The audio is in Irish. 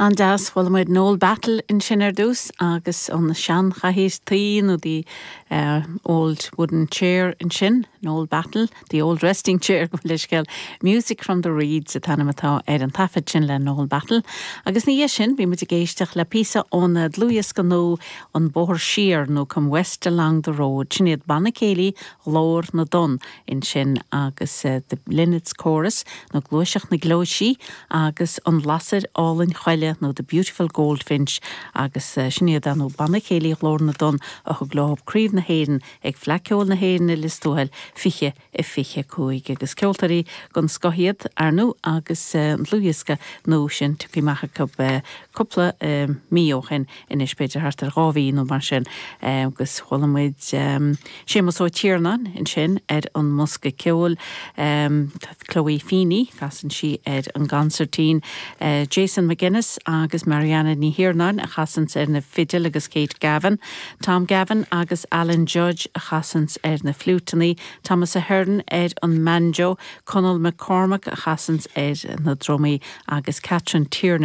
An-deas. Chuala muid Noel Battle ansin ar dtús agus an seanchathaoir tuí nó the old wooden chair ansin, Noel Battle, the old resting chair gabh mo leithscéal. Music from the Reeds an t-ainm atá ar an taifead sin le Noel Battle. Agus ina dhiaidh sin bhí muid ag éisteacht le píosa ón dlúthdhiosca nua An Bóthar Siar nó Come West Along the Road. Sin iad Banna Céilí Ghlór na dTonn ansin agus The Linnets Chorus nó Gluaiseacht na Gleoisí agus An Lasair Álainn Choille nó The Beautiful Goldfinch agus sin iad ar ndóigh Banna Céilí Ghlór na dTonn a thug leo Craobh na hÉireann ag Fleadh Ceoil na hÉireann i Lios Tuathail 2025 agus ceoltóirí den scoth iad ar ndóigh agus an dlúthdhiosca nua sin tugtha amach acu cúpla mí ó shin anois, b'fhéidir thart ar 2 mhí nó mar sin, agus chuala muid Séamus Ó Tiarnáin ansin ar an mbosca ceoil, Chloe Feeney, casann sí ar an gconsairtín, Jason McGuinness agus Marianna Ní Thiarnáin a chasanns ar na fidil agus Kate Gavin, Tom Gavin agus Alan Judge a chasanns ar na fliúiteanna, Thomas Ahern ar an mbanjo, Conall McCormack a chasanns ar na drumaí agus Catherine Tiernan.